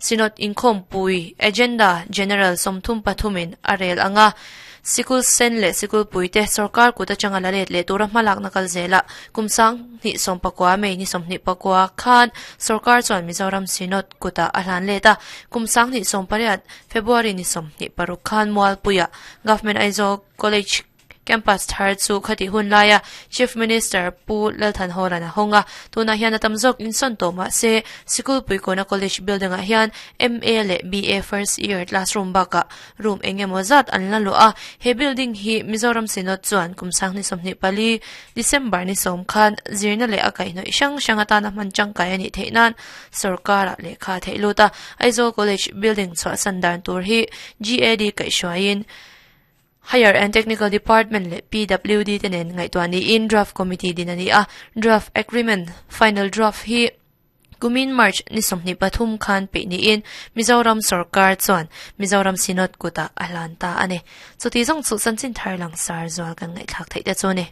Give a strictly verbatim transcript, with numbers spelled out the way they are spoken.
Synod inkhawmpui agenda general sawmthum pathumin a rel anga sikul sen leh sikul puite sorkar kut atanga la let leh tura hmalakna kal zela kumsang hnih sawm pakua May ni sawmhnih pakua khan sorkar chuan Mizoram Synod kuta a hlan let a kumsang hnih sawm pariat February ni sawmhnih paruk khan Mualpuia Government Aizawl College campus thar chu khati hun laia Chief Minister Pu Lalthan Hawlana honga tuna hian atam zawk insawn tawh mahse sikul puikawna college building ah hian M A leh B A first year classroom bakah room engemaw zat an la luah a he building hi Mizoram Synod chuan kumsang ni sawmhnih pali December ni sawm khan zirna leh a kaihhnawih hrang hrang atana hman tangkai a nih theih nan sarkar ah lehkha theih lut a Aizawl College building chhuahsan dan tur hi G A D kaihhruaiin Higher and Technical Department leh P W D te nen ngaihtuah niin draft committee din a ni a draft agreement final draft hi kumin March ni sawmhnih pathum khan peih niin Mizoram sarkar chuan Mizoram Synod kuta a hlan ta a ni chuti zawng chu chanchin thar lang sar zual kan ngaihthlak theih te chu ni.